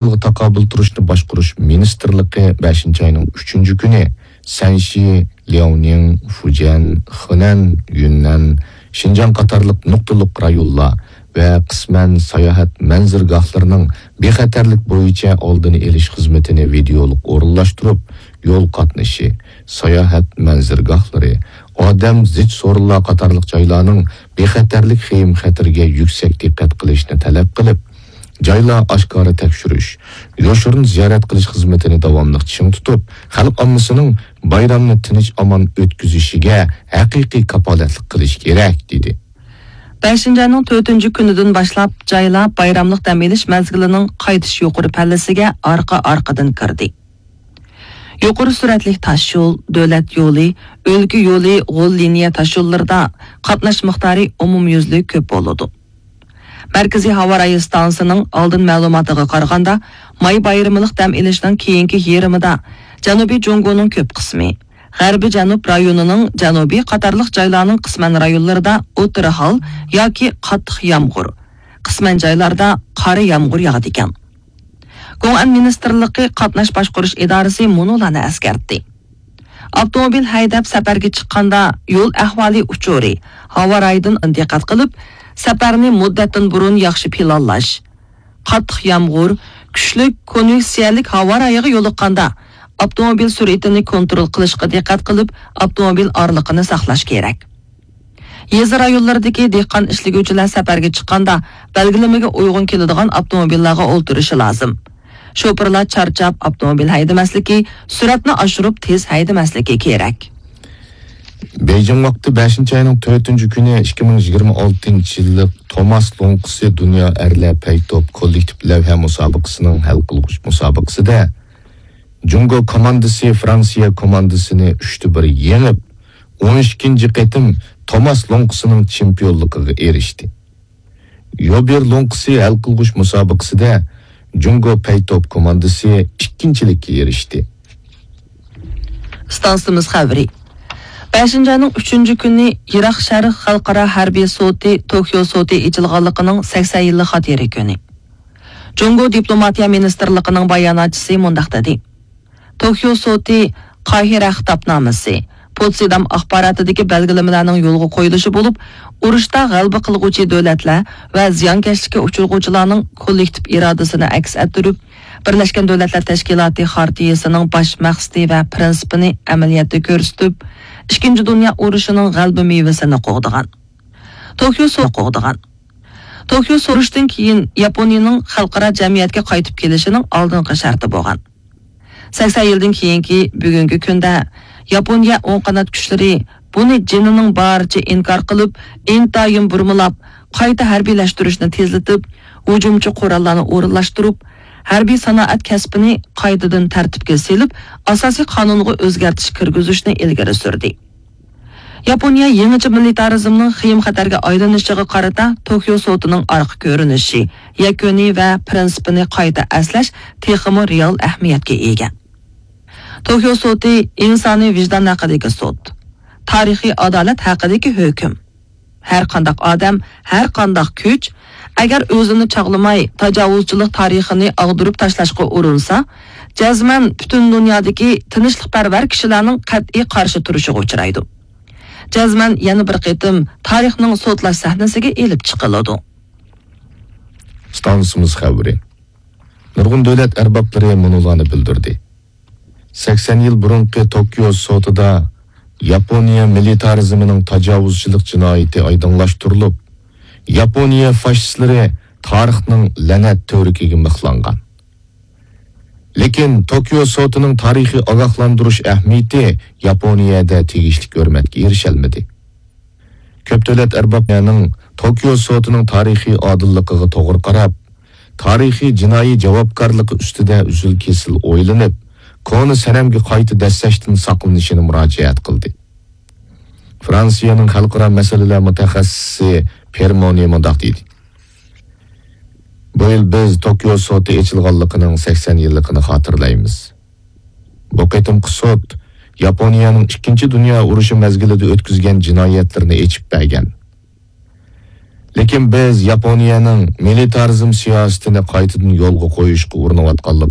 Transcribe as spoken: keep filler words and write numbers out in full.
تاقابىل تۇرۇشنى باشقۇرۇش مىنىستىرلىقى بەشىنچى ئاينىڭ ئۈچىنچى كۈنى سەنشى، لياۋنىڭ، فۇجيەن، خېنەن، يۈننەن، شىنجاڭ قاتارلىق نۇقتىلىق رايونلار ۋە قىسمەن ساياھەت مەنزىرىگاھلىرىنىڭ بىخەتەرلىك بويىچە ئالدىنى ئېلىش خىزمىتىنى ۋىدېئولۇق ئورۇنلاشتۇرۇپ، يول قاتنىشى، ساياھەت مەنزىرىگاھلىرى، ئادەم زىچ سورۇنلار قاتارلىق جايلارنىڭ بىخەتەرلىك خېيىم-خەتىرىگە يۈكسەك دىققەت قىلىشنى تەلەپ قىلىپ، جايلار ئاشكارا تەكشۈرۈش، يوشۇرۇن زىيارەت قىلىش خىزمىتىنى داۋاملىق چىڭ تۇتۇپ، خەلق ئاممىسىنىڭ بايرامنى تىنچ-ئامان ئۆتكۈزۈشىگە ھەقىقىي كاپالەتلىك قىلىش كېرەك، دېدى. بەشىنچى ئاينىڭ تۆتىنچى كۈنىدىن باشلاپ، جايلار بايراملىق دەم ئېلىش مەزگىلىنىڭ قايتىش يۇقىرى پەللىسىگە ئارقا-ئارقىدىن كىردى. يۇقىرى سۈرئەتلىك تاشيول، دۆلەت يولى، ئۆلكە يولى، غول لىنىيە تاشيوللىرىدا قاتناش مىقدارى ئومۇميۈزلۈك كۆپ بولىدۇ. مەركىزىي ھاۋا رايى ئىستانسىسىنىڭ ئالدىن مەلۇماتىغا قارىغاندا، ماي بايرىملىق دەم ئېلىشنىڭ كېيىنكى يېرىمىدا جەنۇبىي جۇڭگونىڭ كۆپ قىسمى، غەربىي جەنۇب رايونىنىڭ جەنۇبى قاتارلىق جايلارنىڭ قىسمەن رايونلىرىدا ئوتتۇرا ھال ياكى قاتتىق يامغۇر، قىسمەن جايلاردا قارا يامغۇر ياغىدىكەن. گوڭئەن مىنىستىرلىقى قاتناش باشقۇرۇش ئىدارىسى مۇنۇلارنى ئەسكەرتتى. ئاپتوموبىل ھەيدەپ سەپەرگە چىققاندا يول ئەھۋالى ئۇچۇرى، ھاۋا رايىدىن دىققەت قىلىپ، سەپەرنى مۇددەتتىن بۇرۇن ياخشى پىلانلاش. قاتتىق يامغۇر، كۈچلۈك كونۋېكسىيەلىك ھاۋا رايىغا يولۇققاندا، ئاپتوموبىل سۈرئىتىنى كونترول قىلىشقا دىققەت قىلىپ، ئاپتوموبىل ئارىلىقىنى ساقلاش كېرەك. يېزا رايونلىرىدىكى دېھقان ئىشلىگۈچىلەر سەپەرگە چىققاندا، بەلگىلىمىگە ئۇيغۇن كېلىدىغان ئاپتوموبىللارغا ئولتۇرۇشى لازىم. شوپۇرلار چارچاپ ئاپتوموبىل ھەيدىمەسلىكى، سۈرئەتنى ئاشۇرۇپ تېز ھەيدىمەسلىكى كېرەك. بېيجىڭ ۋاقتى بەشىنچى ئاينىڭ تۆتىنچى كۈنى ئىككى مىڭ يىگىرمە ئالتىنچى يىللىق توماس لوڭقىسى دۇنيا ئەرلەر پەيتوپ كوللېكتىپ لەۋھە مۇسابىقىسىنىڭ ھەل قىلغۇچ مۇسابىقىسىدە جۇڭگو كوماندىسى فرانسىيە كوماندىسىنى ئۈچتە بىر يېڭىپ، ئون ئىككىنچى قېتىم توماس لوڭقىسىنىڭ چېمپىيونلۇقىغا ئېرىشتى. يوبېر لوڭقىسى ھەل قىلغۇچ مۇسابىقىسىدە جۇڭگو پەيتوپ كوماندىسى ئىككىنچىلىككە ئېرىشتى. ئىستانسىمىز خەۋىرى. بەشىنچى ئاينىڭ ئۈچىنچى كۈنى يىراق شەرق خەلقئارا ھەربىي سوتى توكيو سوتى ئېچىلغانلىقىنىڭ سەكسەن يىللىق خاتىرە كۈنى. جۇڭگو دىپلوماتىيە مىنىستىرلىقىنىڭ باياناتچىسى مۇنداق دېدى: توكيو سوتى، قاھىرە خىتابنامىسى، پوتسدام ئاخباراتىدىكى بەلگىلىمىلەرنىڭ يولغا قويۇلۇشى بولۇپ، ئۇرۇشتا غەلىبە قىلغۇچى دۆلەتلەر ۋە زىيانكەشلىككە ئۇچرىغۇچىلارنىڭ كوللېكتىپ ئىرادىسىنى ئەكس ئەتتۈرۈپ، بىرلەشكەن دۆلەتلەر تەشكىلاتى خارتىيىسىنىڭ باش مەقسىتى ۋە پىرىنسىپىنى ئەمەلىيەتتە كۆرسىتىپ، ئىككىنچى دۇنيا ئۇرۇشىنىڭ غەلىبە مېۋىسىنى قوغدىغان. توكيو سو-، قوغدىغان. توكيو سورۇشتىن كېيىن ياپونىيىنىڭ خەلقئارا جەمئىيەتكە قايتىپ كېلىشىنىڭ ئالدىنقى شەرتى بولغان. سەكسەن يىلدىن كېيىنكى بۈگۈنكى كۈندە ياپونىيە ئوڭ قانات كۈچلىرى بۇنى جېنىنىڭ بارىچە ئىنكار قىلىپ، ئىنتايىن بۇرمىلاپ، قايتا ھەربىيلەشتۈرۈشنى تېزلىتىپ، ھۇجۇمچى قوراللارنى ئورۇنلاشتۇرۇپ، ھەربىي سانائەت كەسپىنى قايتىدىن تەرتىپكە سېلىپ، ئاساسىي قانۇنغا ئۆزگەرتىش كىرگۈزۈشنى ئىلگىرى سۈردى. ياپونىيە يېڭىچە مىلىتارىزمنىڭ خېيىم-خەتەرگە ئايلىنىشىغا قارىتا توكيو سوتىنىڭ ئارقا كۆرۈنۈشى، يەكۈنى ۋە پىرىنسىپىنى قايتا ئەسلەش تېخىمۇ رېئال ئەھمىيەتكە ئىگە. توكيو سوتى ئىنسانىي ۋىجدان ھەققىدىكى سوت، تارىخىي ئادالەت ھەققىدىكى ھۆكۈم. ھەر قانداق ئادەم، ھەر قانداق كۈچ، ئەگەر ئۆزىنى چاغلىماي، تاجاۋۇزچىلىق تارىخىنى ئاغدۇرۇپ تاشلاشقا ئۇرۇنسا، جەزمەن پۈتۈن دۇنيادىكى تىنچلىقپەرۋەر كىشىلەرنىڭ قەتئىي قارشى تۇرۇشىغا ئۇچرايدۇ. جەزمەن يەنە بىر قېتىم تارىخنىڭ سوتلاش سەھنىسىگە ئېلىپ چىقىلىدۇ. ئىستانسىمىز خەۋىرى. نۇرغۇن دۆلەت ئەربابلىرى مۇنۇلارنى بىلدۈردى. سەكسەن يىل بۇرۇنقى توكيو سوتىدا ياپونىيە مىلىتارىزمىنىڭ تاجاۋۇزچىلىق جىنايىتى ئايدىڭلاشتۇرۇلۇپ، ياپونىيە فاشىستلىرى تارىخنىڭ لەنەت تۈۋرۈكىگە مىخلانغان. لېكىن توكيو سوتىنىڭ تارىخىي ئاگاھلاندۇرۇش ئەھمىيىتى ياپونىيەدە تېگىشلىك ھۆرمەتكە ئېرىشەلمىدى. كۆپ دۆلەت ئەربابلىرىنىڭ توكيو سوتىنىڭ تارىخىي ئادىللىقىغا توغرا قاراپ، تارىخىي جىنايى جاۋابكارلىقى ئۈستىدە ئۈزۈل-كېسىل ئويلىنىپ، كونا سەنەمگە قايتا دەسسەشتىن ساقلىنىشىنى مۇراجىئەت قىلدى. فرانسىيەنىڭ خەلقئارا مەسىلىلەر مۇتەخەسسىسى پېرمونى مۇنداق دېدى: بۇ يىل بىز توكيو سوتى ئېچىلغانلىقىنىڭ سەكسەن يىللىقىنى خاتىرىلەيمىز. بۇ قېتىمقى سوت ياپونىيەنىڭ ئىككىنچى دۇنيا ئۇرۇشى مەزگىلىدە ئۆتكۈزگەن جىنايەتلىرىنى ئېچىپ بەرگەن. لېكىن بىز ياپونىيەنىڭ مىلىتارىزم سىياسىتىنى قايتىدىن يولغا قويۇشقا ئۇرۇنۇۋاتقانلىقىنى